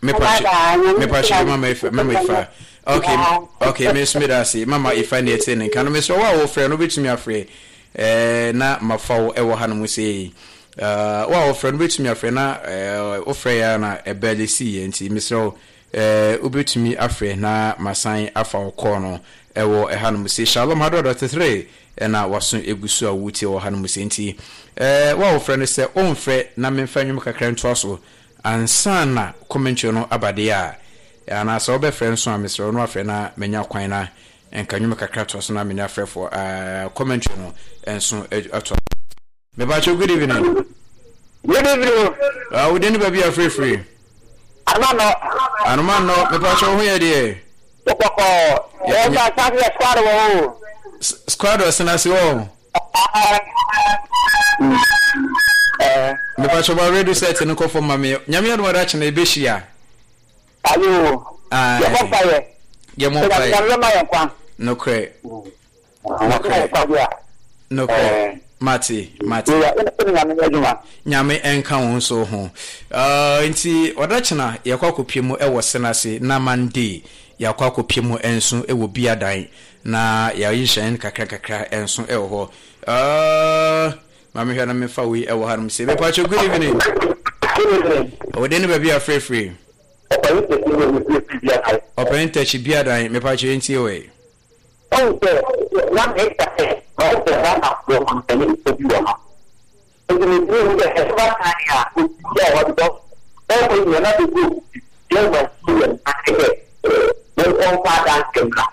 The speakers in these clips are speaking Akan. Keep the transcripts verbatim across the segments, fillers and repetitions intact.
Mepakyɛ, Mama Ifa, Mama Ifa. Okay, okay, me nso meda ase. Mama Ifa ne ɛte ne nka no. Mesrɛ wo a wɔfrɛ no, wobɛtumi afrɛ eh, na mafa wo ɛwɔ ha no mu sei. Uh, wo a wɔfrɛ no, wobɛtumi afrɛ na eh, wofrɛ yɛ a na ɛbɛle siiɛ, nti mesrɛ wo eh, wobɛtumi afrɛ na masan afa wo kɔɔ no ɛwɔ ɛha no mu sei. Shalom hundred dot three ɛna waso egu so a wotie wɔ ha no mu sei, nti eh, wo a wɔfrɛ no, sɛ ɔmfrɛ na memfa nnwom kakra ntoa so ansa na commentary no aba deɛ a, anaasɛ wobɛfrɛ nso a, mesrɛ wo no afrɛ na manya kwan na nka nnwom kakra toa so na menya frɛfoɔ uh, commentary no nso atoa. Mepakyɛ, good evening. Good evening. uh, wode ne baabi afrɛfiri? Anano. Anoma nnɔ. Mepakyɛ, wo ho yɛ deɛ? Kɔkɔ. Yɛ ba sáfì yɛ squad wɔ o. Squad ɔsena se wɔ. Mepakyɛ, ba radio set no kɔfɔ ma me. Nyame adom ada kyena ɛbɛhyia. Ayo. Yɛ bɔ mpa yɛ. Yɛmmɔ mpaeɛ. Nyame ma yɛn kwan. Nokorɛ, nokorɛ, nokorɛ. Mate, mate. Nyame ɛnka wo nso ho. uh, nti ɔda kyena yɛkɔ akɔpie mu ɛwɔ Senase, na Monday yɛakɔ akɔpie mu nso ɛwɔ Biadan na yɛayi hyɛn kakra kakra nso ɛwɔ hɔ. uh, maame, hwɛ na mefa wei ɛwɔ hanom sɛ. Mepakyɛ, good evening. Ɔwɔde ne baabi afrɛfrɛ? Ɔpɛn Tɛkyi Biadan. Mepakyɛ, yɛntie wɔ. Ɔn sɛ na meka sɛ ɔsɛ Ghana wɔ mampanin bi wɔ ha, nti metumi hu sɛ ɛba kan a obi a wɔde bɔ ɔkɔ nyina na bɛgu yɛma si yɛ ase sɛ monkɔmfa adanseɛ mmra,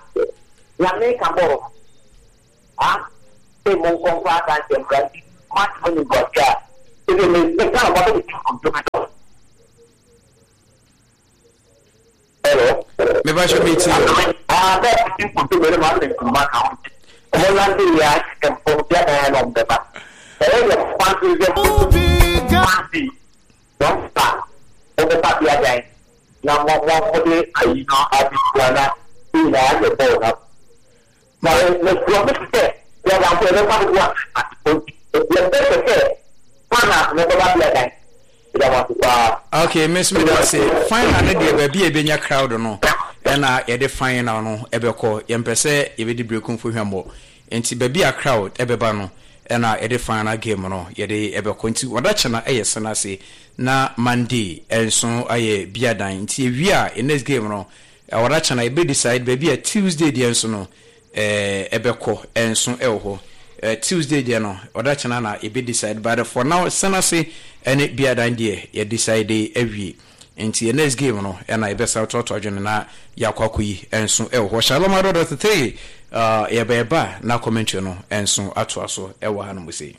na meka bɔɔ ha sɛ monkɔmfa adanseɛ mmra, nti matema nimguase a ɛsɛ meka na mabɛde nkontom. Hello? Mepakyɛ, metie. Ah, bɛɛ ti nkontom ɛne ma ne nkuruma ka ho, nti ɔmo nante yɛ ahyɛ mpɔm bia dan na ɔmo bɛba ɛyɛ yɛ kwan so sɛ fansi wɔn fa wɔbɛba bia dan na mo mo mo de ayi no abɛsua na ne nyinaa yɛ bɔɔl na na mɛ kura mo sɛ bia dan so ɛbɛfa dodo a yɛ bɛ sɛ sɛ final no bɛba bia dan ɛda mo ase paa. Okay, miss, me da se final no deɛ, baabi a ɛbɛnya crowd no ɛna yɛde final no ɛbɛkɔ. Yɛmpɛ sɛ yɛbɛdi Berekumfo hwammɔ, nti baabi a crowd ɛbɛba no ɛna yɛde final game no yɛde ɛbɛkɔ. Nti wɔda kyena ɛyɛ Senase na Monday ɛnso ayɛ Biadan, nti ewie a next game no wɔda kyena yɛbɛ decide baabi a Tuesday deɛ nso no ɛɛ ɛbɛkɔ ɛnso ɛwɔ hɔ. ɛɛ Tuesday deɛ no, ɔda kyena na yɛbɛ decide, but for now Senase ɛne Biadan deɛ, yɛ decide awie, nti yɛ next game no ɛna yɛbɛsa toatoa adwene na yɛakɔ akɔyi ɛnso ɛwɔ hɔ. Shalom hundred dot three, uh, yɛbɛɛba na commentary no ɛnso atoa so ɛwɔ ha no mu sei.